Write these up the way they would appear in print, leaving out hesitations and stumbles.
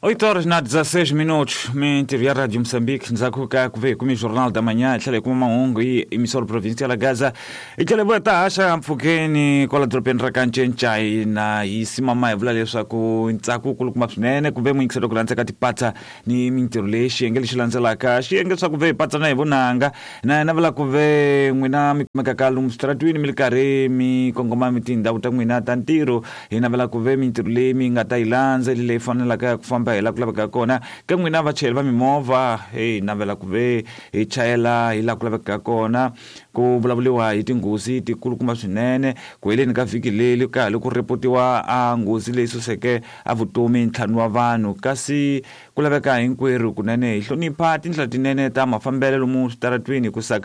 8 horas na 16 minutos, mintirho ya Radio Moçambique, ndzhaku ka ku ve hi kume Jornal da Manhã, hi tlhela hi kuma mahungu hi emissora provincial ya Gaza, hi tlhela hi vuya ta haxa mpfhukeni kwala dorobeni ra ka Ncencai na hi simama hi vula leswaku ntsako wu kulukumba swinene ku ve muyingiselo ku landza ka tipatsa ni mintirho leyi xiyenge lexi landzelaka xiyenge swa ku ve hi patsana hi vunanga na yena vula ku ve n'wina mi kumekaka lomu switaratwini mi ri karhi mi kongoma mi tindhawu ta n'wina ta ntirho. Hi navela ku ve mintirho leyi mi nga ta yi landza hi leyi fanelaka ya ku famba hi laha ku lavekaka kona. Ka n'wina vachayeri va mimovha, hi navela ku ve hi chayela hi laha ku lavekaka kona. Ku vulavuriwa hi tinghozi tikulukumba swinene. Ku heleni ka vhiki leri ka ha ri ku rhepotiwa a nghozi leyi suseke a vutomi ntlhanu wa vanhu. Kasi ku laveka hinkwerhu kunene hi hlonipha tindlela tinene ta mafambelo lomu switaratwini hikusa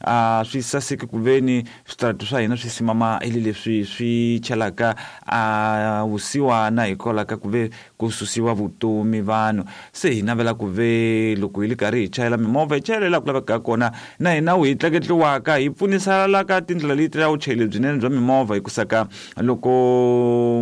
a swi saseki ku veni Switarati swa hina swi simama ili leswi swi chelaka a vusiwana hikwalaho ka ku ve ku susiwa vutomi vanhu. Se hi navela ku ve loko hi li karhi hi chayela mimovha hi chayela laha ku lavekaka kona na hina wu hi tleketliwaka hi pfunisala ka tindlela leti ta vuchayeri lebyinene bya mimovha hikusa ka loko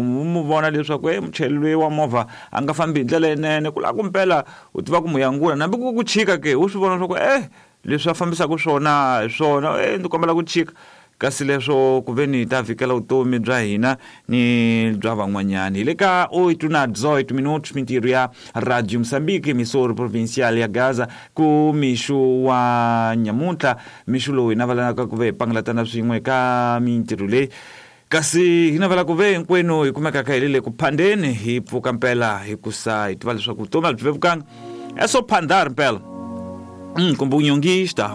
mu vona leswaku e muchayeri loyi wa movha a nga fambi hi ndlela leyinene ku lava ku mpela u tiva ku mu yangula nambi ku ku chika ke u swi vona swa ku e Leswi a fambisaka swona hi swona, e ndzi kombela ku chika. Kasi leswo ku ve ni ta vhikela vutomi bya hina ni bya van'wanyana. Hi le ka 8 na 18 minutos mintirho ya Radio Moçambique, emissora provincial ya Gaza, ku mixo wa nyamuntlha, mixo lowu hi navelanaka ku ve hi pangalatana swin'we ka mintirho leyi. Kasi hi navela ku ve hinkwenu hi kumekaka hi le le ku phandeni, hi pfuka mpela hikusa hi tiva leswaku vutomi a byi vevukanga. É só phandar mpela. Kumbe unyongista.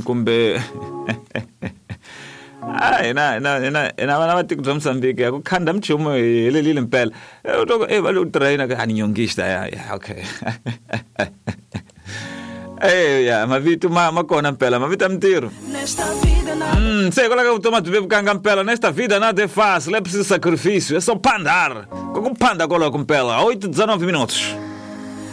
Kumbe Ah, hina hina hina hina vana va tiko bya Mozambique ya ku khanda mchumu hi helelile mpela. U twa ku eh va le ku traina ka ani nyongista ya ya okay. Eh ya mavito ma ma kona mpela mavito ya mintirho. Se hikwalaho ka vutomi a byi vevukanga mpela nesta vida nada é fácil, é preciso sacrifício, é só pandar. Ku ku phanda koloko mpela 8 19 minutos.